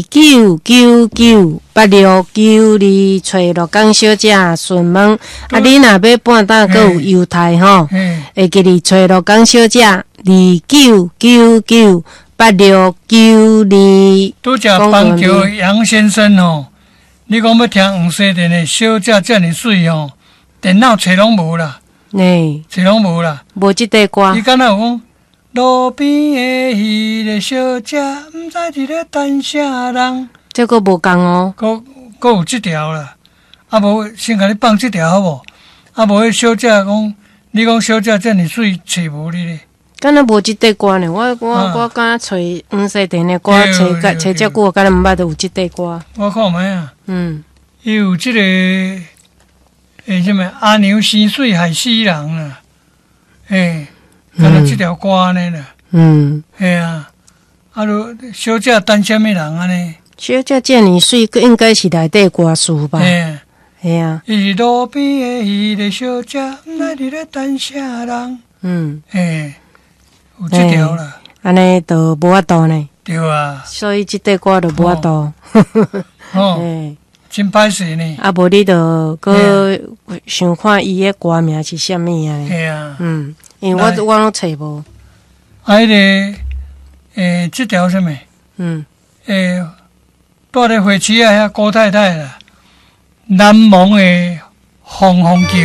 九九九八六九二，揣鹿港小姐詢問。啊，你若欲半搭閣有猶太吼，會記得揣鹿港小姐二九九九八六九二。拄才邦橋楊先生吼，你講欲聽黃西田的小姐遮爾媠吼，電腦揣攏無啦，揣攏無啦，無這塊歌。伊敢若有講路邊的彼个小姐，毋知佇咧等啥人。這閣無仝哦。閣有這條啦，啊無先共你放這條好無？啊無彼小姐講，你講小姐遮爾媠，揣無你咧。敢若無這塊歌呢？我敢若揣黃西田的歌，揣甲揣遮久，敢若毋捌有這塊歌。我看覓啊？伊有這个，啥物阿娘生媠害死人啦，敢若這條歌按呢啦。嘿啊，啊，汝小姐等啥物人按呢？小姐遮爾媠，閣應該是內底歌詞吧？嘿啊。伊是路邊的彼个小姐，毋知佇咧等啥人。有這條啦。按呢就無法度呢。對啊。所以這塊歌就無法度。哦。真歹勢呢。啊，無你就閣想看伊的歌名是啥物啊？嘿啊。因為我攏揣無。啊，彼个，這條啥物？蹛咧花市仔遐郭太太啦，難忘的風風球。